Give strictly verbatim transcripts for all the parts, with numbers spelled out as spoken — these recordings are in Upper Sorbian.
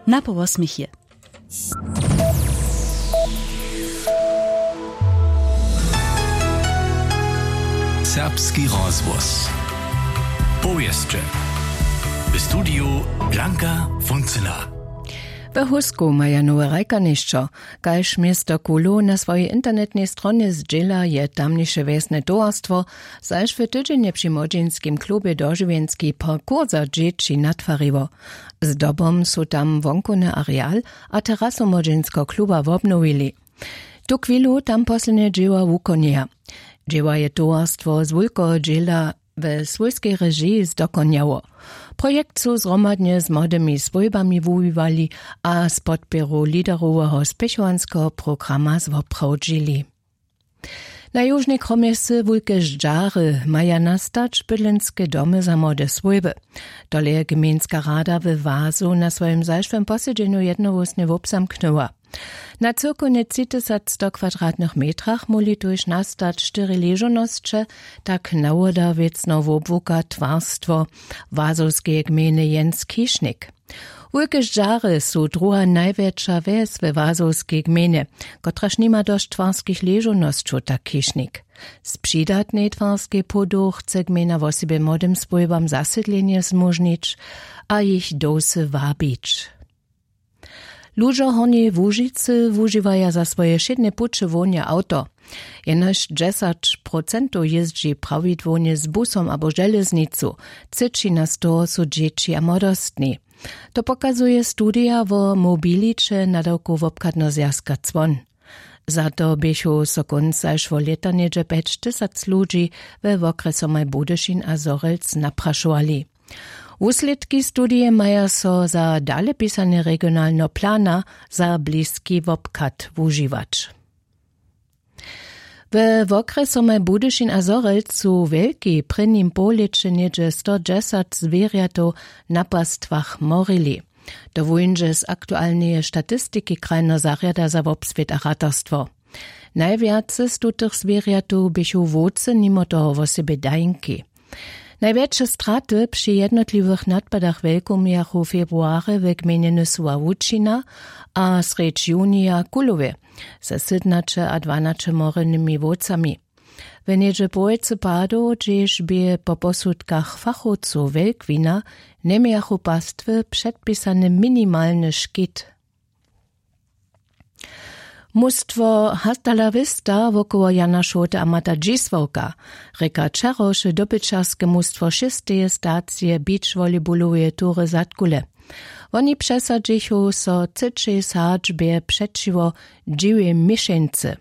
Na połosměch je. Serbski rozhłos. Powěsće. W studiju Blanka Funcyna. We Husku maja nowe hrajkarnišćo. Kaž město Kulow na swojej internetnej stronje zdźěla, je tamniše wjesne towarstwo zaž w tydźenje při młodźinskim klubje dožiwjenski parkour za dźěći natwariło. Zdobom su tam wonkowny areal a terasu młodźinskeho kluba wobnowili. Tuchwilu tam poslednje dźěła wukonjeja. Dźěła je towarstwo z wulkeho dźěla we swójskej režiji zdokonjało. Projekt su zhromadnje z młodymi swójbami wuwiwali a z podpěru lideroweho spěchowanskeho programa zwoprawdźili. Na južnej kromje wsy wulke ždźary maja nastać bydlenske domy za młode swójby. Tole je gmejnska rada we wazu na swojim zašłym posedźenju jednohłósnje wobzamknyła. Na cyłkownje tři tysac sto kwadratnych metrach móhli tuž nastać štyri ležownosće, tak nawoda wěcno wobłuka twarstwo wazowskeje gmejny jens kišnik. Wulke ždźary su druha najwjetša wjes we wazowskej gmejnje, kotraž nima dosć twarskich ležownosćow, tak kišnik. Z přidatnej twarskej płodow chce gmejna wosebje młodym swójbam zasydlenje zmóžnić a jich dowsy wabić. Ludźo w hornjej łužicy wužiwaja za swoje wšědne puće hłowne awto. Jenož dźesać procentow jězdźi prawidłownje z busom abo železnicu. Třěćina z toho su dźěći a młodostni. To pokazuje studija wo mobiliće nadawkow wobchadneho zwjazka cłon. Za to běchu so kónc zašłeho lěta něhdźe pjećtysac ludźi we wokrjesomaj budyšin a zhorjelc naprašowali. Wuslědki studije maja so za dalepisanje regionalneho plana za bliski wobchad wužiwać. We wokrjesomaj budyšin a zhorjelc su wjelki w prěnim połlěće něhdźe stodźesać zwěrjatow na pastwach morili. To wóńdźe z aktualneje statistiki krajneho zarjada za wobswět a ratarstwo. Najwjace z tutych zwěrjatow běchu wowcy, nimo toho wosebje dajnki. Najwjetše straty při jednotliwych nadpadach wjelkomějachu w februarje w gmejnje nysowa łučina a srjedź junija w kulowje ze sydnaće a dwanaće morynymi wowcami. W něhdźe połojcy padow hdźež bě po posudkach fachowcow wjelkwina, njemějachu pastwy předpisany minimalny škit. Mustwo Hasta la Vista wokoło Jana Šołty a Mata Dźisławka rěka wčerawše dobyćerske mustwo šěsteje stacije beach volleyballoweje tury zadkule. Woni přesadźichu so třećej sadźbje přećiwo dźiwej měšeńcy.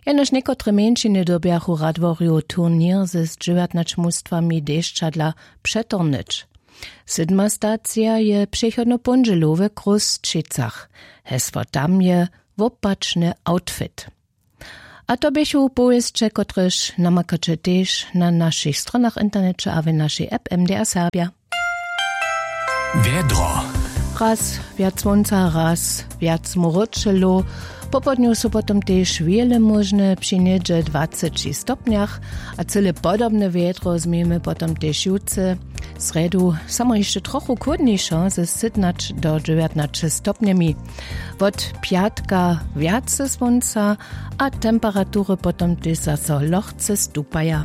Jenož někotre mjeńšiny dyrbjachu w Radworju turněr z dźewjatnaćmustwami dešćadla přetornyć. Sydma stacija je přechodnu póndźelu w Chrósćicach. Hesło tam je: Wopačny outfit. A to běchu powěsće, kotrež namakaće tež na našich stronach w interneće a w našej app M D R Serbja. Wjedro. Raz wjac słónca, raz wjac mróčelow. Popołdnju su potom tež wjele móžne při něhdźe dwaceći stopnjach. A cyle podobne wjedro změjemy potom tež jutře, srjedu, samo hišće trochu chłódnišo ze sytnać do dźewjatnaće stopnjemi. Wot pjatka wjace słónca a temperatury potom tež zaso lochce stupaja.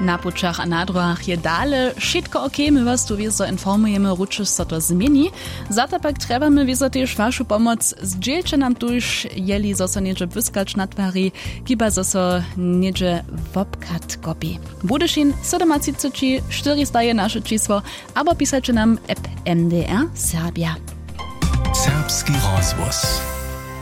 Na pućach a na dróhach je dale wšitko ok. My was tu wězo informujemy, ručo so to změni. Za to pak trjebamy wězo tež wašu pomoc. Zdźělće nam tuž, jeli zo so něhdźe błyskać natwari, kiba zo so něhdźe wobchad kopi. Budyšin sydomatřiceći štyrista je naše čisło, abo pisaće nam app M D R Serbja. Serbski rozhłos.